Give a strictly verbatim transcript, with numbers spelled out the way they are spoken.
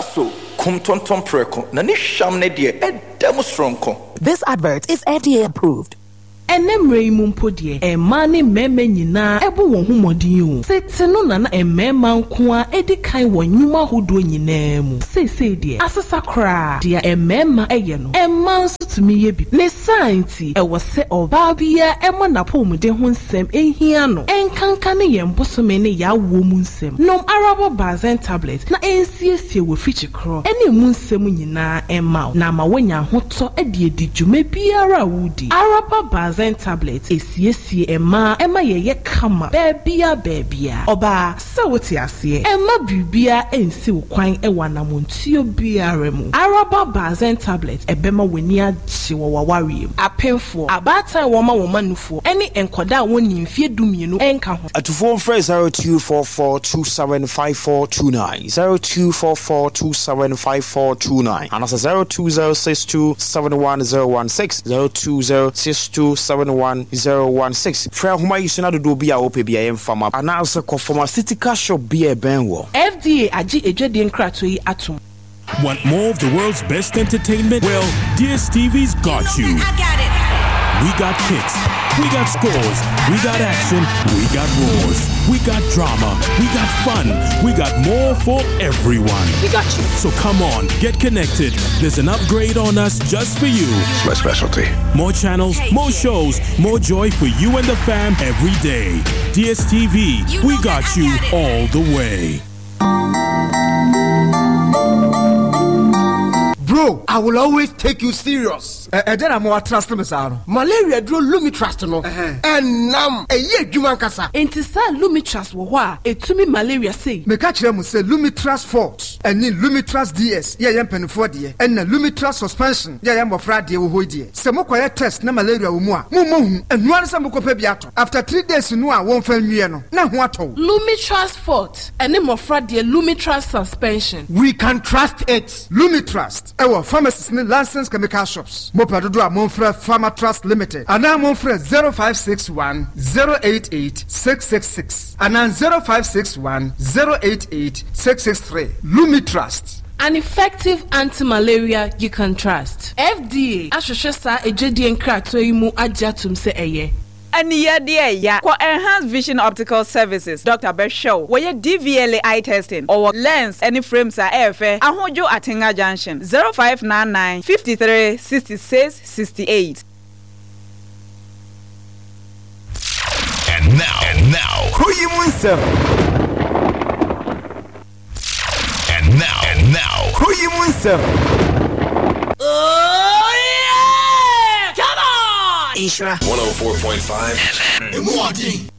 So kum tontom prɛko na ne hwam ne deɛ ɛda mu soronko. This advert is F D A approved. Ɛnɛ mmerɛ yi mu mpo deɛ, mmaa ne mmarima nyinaa ɛbɔ wɔn ho mmɔden o. Tete no nana mmarima nko a edi kan wɔ nnwuma ahodoɔ nyinaa mu. Seesei deɛ, asesa koraa. Deɛ mmarima ɛyɛ no, mmaa nso tumi yɛ bi. Ne saa nti, ɛwɔ sɛ ɔbaa biara ɛma n'apɔmuden ho nsɛm ehia no, ɛnkanka ne yɛn bosome ne yɛawoɔ mu nsɛm. Nom Araba Bazen tablet na ɛnsiesie wɔ fikyi korɔ ɛne emu nsɛm nyinaa ɛma wo na ama woanya ahotɔ ɛde adi dwuma biara a wodi. Araba Bazen tablet esiesie mmaa, ɛma yɛyɛ kama baabia baabia. Ɔbaa, sɛ wote aseɛ, ɛma biribiara ɛnsi wo kwan ɛwɔ anamontuo biara mu. Araba Bazen tablet ɛbɛma w'ani agye wɔ w'awareɛ mu. Apemfoɔ, abaatan a wɔma wɔn manufoɔ ɛne nkɔdaa a wɔnni mfeɛ dumienu ɛnka ho. Atufoɔ mfrɛ zero two four four two seven five four two nine, zero two four four two seven five four two nine, anaasɛ zero two zero six two seven one zero one six, zero two zero six two seven one zero one six. Frɛ ahoma yi so na dodoɔ bi a wopɛ bi a yɛmfa ma, anaasɛ kɔ pharmaceutical shop bi a ɛbɛn wɔ. F D A agye edwadie nkratoɔ yi atom. Want more of the world's best entertainment? Well, D S T V's got you. I got it. We got kicks. We got scores. We got action. We got roars. We got drama. We got fun. We got more for everyone. We got you. So come on, get connected. There's an upgrade on us just for you. It's my specialty. More channels, more shows, more joy for you and the fam every day. D S T V, You we know got that I you got it. All the way. Bro, I will always take you serious. Ɛdɛn na mo atrust me saa no? Malaria duro Lumitrust no ɛnam ɛyɛ adwuma nkasa. Nti saa Lumitrust wɔ hɔ a ɛtumi malaria sei? Meka kyerɛ mo sɛ Lumitrust Forte ɛne Lumitrust D S yɛyɛ mpanimfoɔ deɛ, ɛna Lumitrust Suspension yɛyɛ mmɔfra deɛ wɔ hɔ yi deɛ, sɛ mokɔyɛ test na malaria wɔ mu a, mommɔ hu. Ɛnoa ne sɛ mokɔpɛ bi atɔ. After three days no a wɔmfa nwie no na ho atɔ wo. Lumitrust Forte ɛne mmɔfra deɛ Lumitrust Suspension. We can trust it. Lumitrust ɛwɔ pharmacies ne licensed chemical shops. Mopɛ dodo a, momfrɛ Pharmatrust Limited anaa momfrɛ zero five six one zero eight eight six six six anaa zero five six one zero eight eight six six three. Lumitrust. An effective anti-malaria you can trust. F D A ahwehwɛ saa edwadie nkratoɔ yi mu agye atom sɛ ɛyɛ. Aniyɛdeɛ ya kɔ Enhanced Vision Optical Services. Doctor bɛhwɛ wo, wɔyɛ D V L A eye testing, ɔwɔ lens ne frames a ɛyɛ fɛ. Ahodwo, Atenga Junction, zero five nine nine fifty-three sixty-six sixty-eight. And now, and now, Kuro mu nsɛm. And now, and now, Kuro mu nsɛm. Oh yeah! Come on! Nhyira one oh four point five F M.